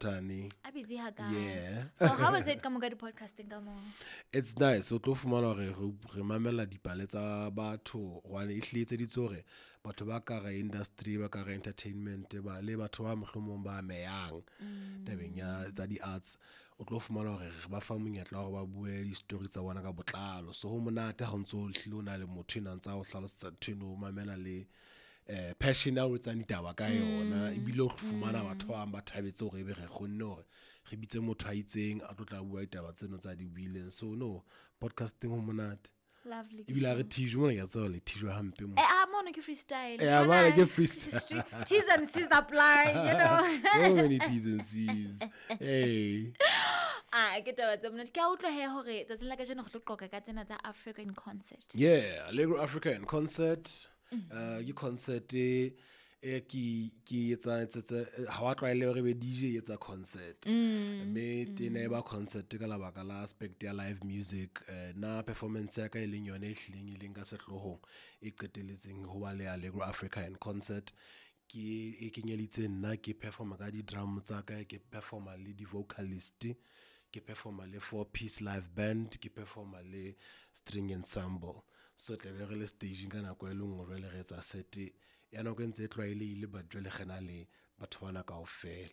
Tani. A busy hakae? Yeah. So how is it ka mo ka di-podcasting ka mo? It's nice. O tlo fumana hore re mamela dipale tsa batho hobane e hlile etseditswe hore batho ba ka hara industry, ba ka hara entertainment, ba le batho ba mohlomong ba amehang tabeng ya tsa di-arts. O tlo fumana hore re ba fa monyetla wa hore ba bue di-story tsa bona ka botlalo. So ho monate ha o ntso hlile o na le motho enwa a ntsa o hlalosetsa ntho eno, o mamela le passion ya o etsang ditaba ka yona. Ebile o fumana batho ba bang ba thabetse hore ebe re kgonne hore re bitse motho a itseng a tlo tla bua ditaba tseno tsa di buileng. So no, podcasting ho monate. Lovely. Ebile ha re thijwe mona, ke a tseba le thijwa hampe mo. Eh, ah, mono ke freestyle. Eh, Mona mona ke freestyle. T's and C's apply. So many T's and C's. Hey. Ah, ke taba tse monate. Ke a utlwa he hore tsatsing la kajeno re tlo qoqa ka tsena tsa Africa in Concert. Yeah, Allegro Africa in Concert. Ke concert e ke etsa ha wa tlwaele hore be DJ e etsa concert. Mme tena e ba concert ka lebaka la aspect ya live music. Na performance ya ka e leng yone e hlileng e leng ka sehloohong e qetelletseng ho ba le Allegro Africa in Concert. Ke e kenyelitse nna, ke performa ka di-drum tsa ka, ke performa le di-vocalist, ke performa le 4-piece live band, ke performa le string ensemble. So tla be re le staging ka nako e le nngwe, jwale re etsa set ya nako e ntse e tlwaelehile, but jwale re na le batho bana kaofela.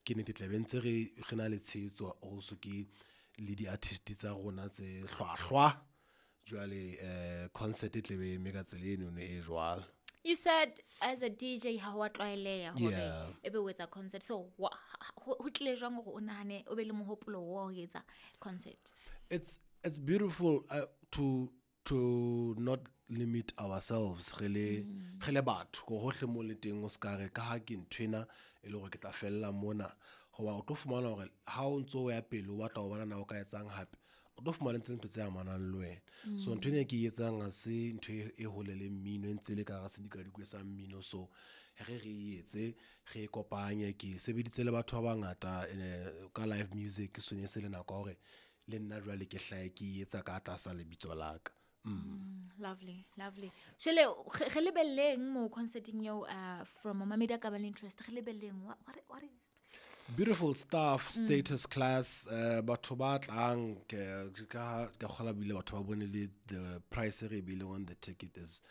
Ke nnete tla be ntse re na le tshehetso also ke le di-artist tsa rona tse hlwahlwa. Jwale concert e tla be e eme ka tsela eno e jwalo. You said as a DJ ha wa tlwaeleha hore Yeah. ebe o etsa concert. So ho tlile jwang hore o nahane o be le mohopolo wa ho etsa concert? It's beautiful to not limit ourselves re le batho ko hohle mo le teng, o ska re ka ha ke nthwena e le hore ke tla fella mona. Hoba o tlo fumana hore ha o ntso o ya pele o batla ho bona na o ka etsang hape, o tlo fumana ntse ntho tse amanang le wena. So ntho ena e ke e etsang ha se ntho e hole le mmino, e ntse le ka hara sedikadikwe sa mmino. So re e etse, re e kopanye. Ke sebeditse le batho ba bangata ka live music, so ne se le nako ya hore le nna jwale ke hlahe ke e etsa ka tlasa lebitso la ka. Lovely, lovely. Jwale re lebelleng mo concerting eo, from momamedi a ka ba le interest, re lebelleng what is Beautiful stuff, status class, batho ba tlang, ke kgola bile batho ba bone le the price e re beileng on the ticket is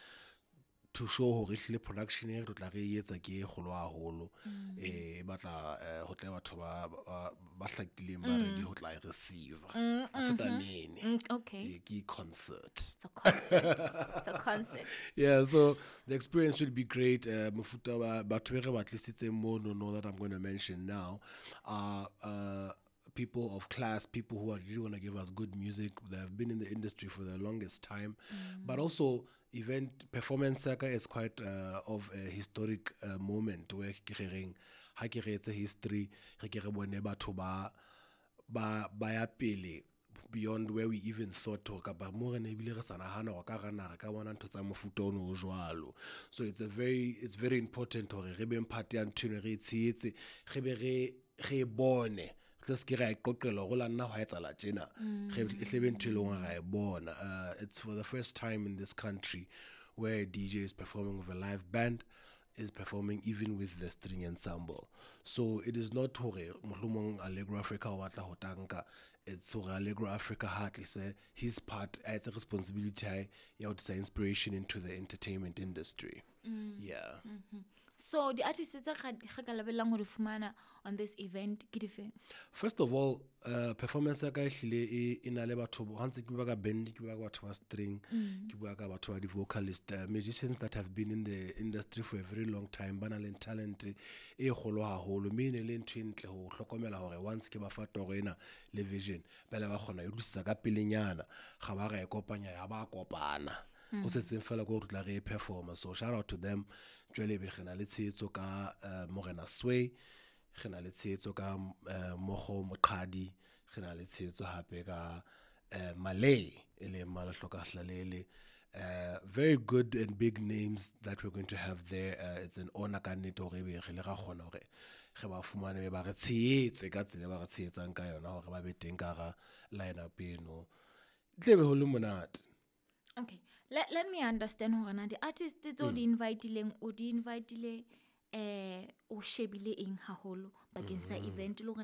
to show hore ehlile production e re tlo tla re e etsa ke e kgolo haholo. E batla ho tle batho ba hlakileng ba ready ho tla e receive. Ha se tamene. Okay. Ke concert. It's a concert. It's a concert. Yeah, so the experience should be great. Mofuta wa batho be re ba tlisitseng mono, no, that I'm going to mention now, are people of class, people who are really want to give us good music. They have been in the industry for the longest time. But also, event performance ya ka is quite of a historic moment where ke re reng, ha ke re etse history, re ke re bone batho ba ya pele beyond where we even thought hore kapa mo re ne ebile re sa nahana hore ka hara naha re ka bona ntho tsa mofuta ono o jwalo. So it's very important hore re beng part ya ntho eno, re e tshehetse, re be re e bone. Re se ke ra e qoqelwa hore la nna hwa etsahala tjena. Re e hle be ntho e leng hore ra e bona. It's for the first time in this country where a DJ is performing with a live band, is performing even with the string ensemble. So it is not hore mohlomong Allegro Africa o batla ho tanka, it's hore Allegro Africa ha tlise his part, a etse responsibility ya hae ya ho tlisa inspiration into the entertainment industry. Yeah. So the artists tse re ka lebellang ho di fumana on this event ke dife? First of all, performance ya ka ehlile e na le batho ha ntse ke bua ka band, ke bua ka batho ba string, ke bua ka batho ba di-vocalist, musicians that have been in the industry for a very long time, ba na le talent e kgolo haholo, mme e ne le ntho e ntle ho hlokomela hore once ke ba fa toro ena le vision, ba ile ba kgona ho e utlwisisa ka pelenyana, ga ba ra e kopanya, ya ba kopana. Ho setseng fela ke hore re tla re e performa. So shout out to them. Jwale be re na le tshehetso ka Morena Sway, re na le tshehetso ka Mogo Moqhadi, re na le tshehetso hape ka Malay, e leng Malahloka Hlalele. Very good and big names that we're going to have there. It's an honor ka nnete hore ebe re le ra kgona hore re ba fumane, be ba re tshehetse ka tsela e ba re tshehetsang ka yona hore ba be teng ka hara line-up eno. E tle be ho le monate. Okay, let me understand hore na di-artist tseo di invite-ileng, o di invite-ile, o shebile eng haholo bakeng sa event le hore